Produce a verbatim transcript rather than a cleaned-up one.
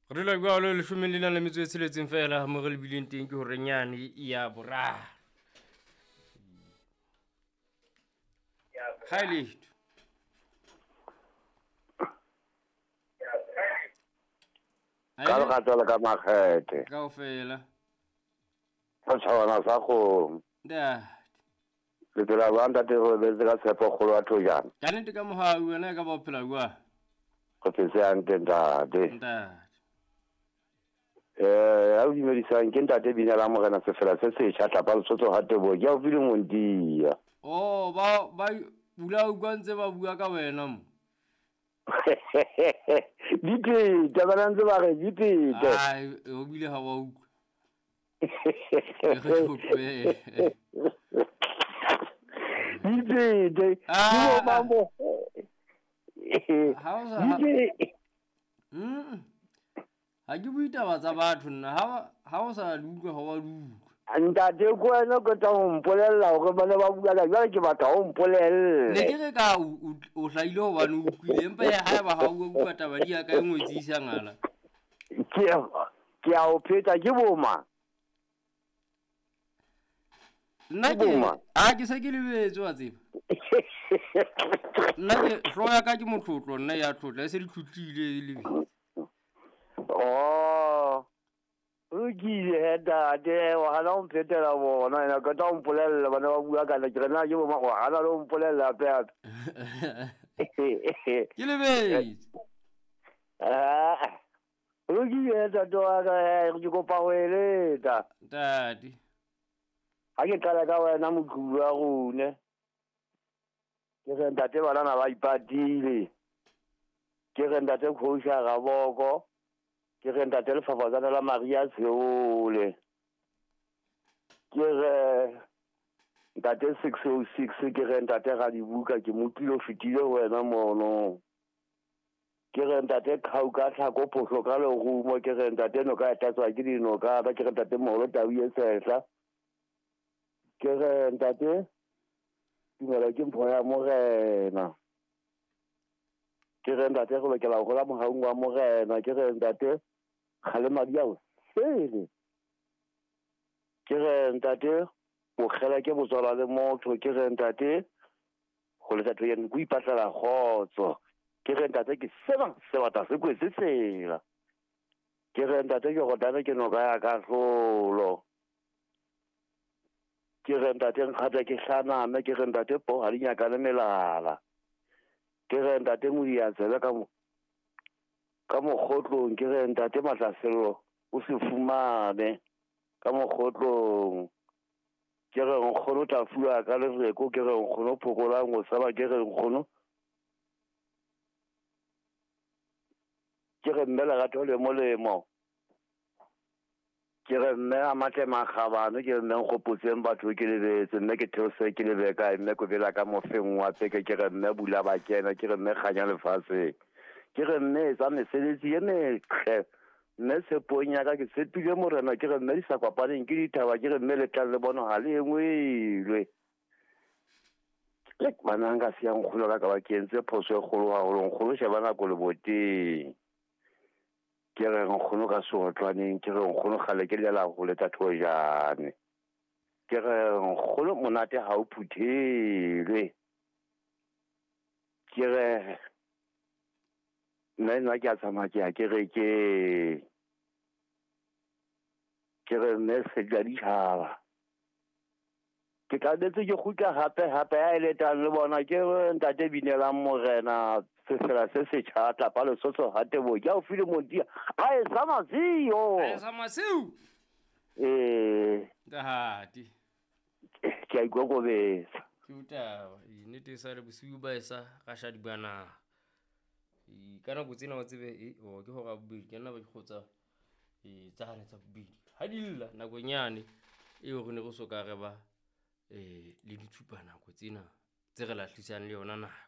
Re dula jwalo leshome le nang le metso e tsheletseng fela mo re lebileng teng ke horeng yane ya boraro. Ha e letho. Ka lerato le ka makgethe. Kaofela. Setjhabana sa kgomo. Ntate. Le phela jwang ntate? Re robetse ka tshepo kgolo ya thojana. Ka nnete ka mohau wena e ka ba o phela jwang? Re phetse hantle ntate. Ntate. Eh, ha o dumedisang ke ntate Bina la Morena Sefela se setjha tlapa Lesotho ha Teboho. Ke haufi le Montia. Oh, ba ba bula utlwa ntse ba bua ka wena mo. Di phete, bana ntse ba re di phete. Ai, o bile ha wa utlwa. Re utlwe. Di phete. Ah. Di bo mo. Ha o sa Di Mm. Ha ke bue taba tsa batho nna, ha ha o sa di utlwa ha wa di utlwa. Ntate ko wena o qeta ho mpolella hore ba ne ba bua ka jwale ke batla ho mpolelle. Ne ke re ka o, o, o hlahile hobane o utlwile, empa ya haeba ha o utlwa taba di ya ka e ngwetsi isa ngala. Ke, ke a o pheta ke boma. Nna Ke ke boma. a ke se ke lebetse wa tseba. Nna ke hlooho ya ka ke motlotlo, nna ya tlotla e se di tlotlile e lebetse. Oh. Lokile he ntate, wa hana ho mphetela bona, ena qeta ho mpolella bana ba bua ka nna, ke re na ke boma, wa hana le ho mpolella hape hape. Ke lebetse. Ah, lokile he ntate wa ka, eh, ke kopa ho eletsa. Ntate. Ha ke qala ka wena moqhubu wa rona. Ke re ntate banana ba ipatile. Ke re ntate Kgosha Raboko. Ke re ntate Lefafatsane la Maria Tsheole. Ke re ntate six oh six, ke re ntate Radibuka, ke mo utlwile o fetile ho wena mono. Ke re ntate Khau ka tlhako phoso ka lerumo, ke re ntate noka e tlatswa ke dinoka, ke re ntate Moholo Tau e sehla. Ke re ntate tumelo ke mpho ya Morena. Ke re ntate re lokela ho hola mohaung wa Morena. Ke re ntate kgalema di a o sele. Ke re ntate bokgela ke botswala le motho. Ke re ntate ho letsa thojana ke ho ipatlela kgotso. Ke re ntate ke seba sebata se kwetse tsela. Ke re ntate ke rotane ke noka ya kahlolo. Ke re ntate nkgata ke hlaname. Ke re ntate po ha di nyakane melala. Ke re ntate modi a tsebe ka mo-, ka mokgotlong. Ke re ntate Matlasello o se fumane ka mokgotlong. Ke re nkgono tla fuwa ka lereko. Ke re nkgono phokolang o saba. Ke re nkgono, ke re mme lerato le molemo. Ke re mme a matle makgabane. Ke re mme nkgopotseng batho ke lebetse. Mme ke theose ke lebe kae. Mme ko bela ka mofeng wa peke. Ke re mme bula ba kena. Ke re mme kganya lefatsheng. Ke re mme etsa mesebetsi e metle. Mme tshepong ya ka ke tshepile Morena. Ke re mme di sa kopaneng ke dithaba. Ke re mme le tlang le bono ha le engwelwe. Ke bana nka siya nkgono ka ka ba ke entse phoso e kgolo haholo. Nkgono sheba nako leboteng. Ke re nkgono ka seotlwaneng. Ke re nkgono kgale ke lela ho letsa thojane. Ke re nkgono monate ha o phuthelwe. Ke re nna nna ke a tsamaya ke ya kerekeng. Ke re mme se di ditjhaba. Ke tlametse ke kgutla hape hape ha e letang le bona. Ke re ntate Binelang Morena Sefela se setjha tlapa Lesotho ha Teboho. Ke haufi le Montia. A e sa masiu. A e sa masiu. Eh. Ntate. Ke a ikokobetsa. Ke utaba. E nnete e sa le bosiu ba e sa ka sha dibana. E ka nako tsena wa tsebe, e, o, ke hora bobedi, ke nna ba ke kgotsa, e, tsane tsa bobedi. Ha di lla nakonyane eo re ne re so ka re ba, e, le ditshupa nako tsena tse re lahlisang le yona nako.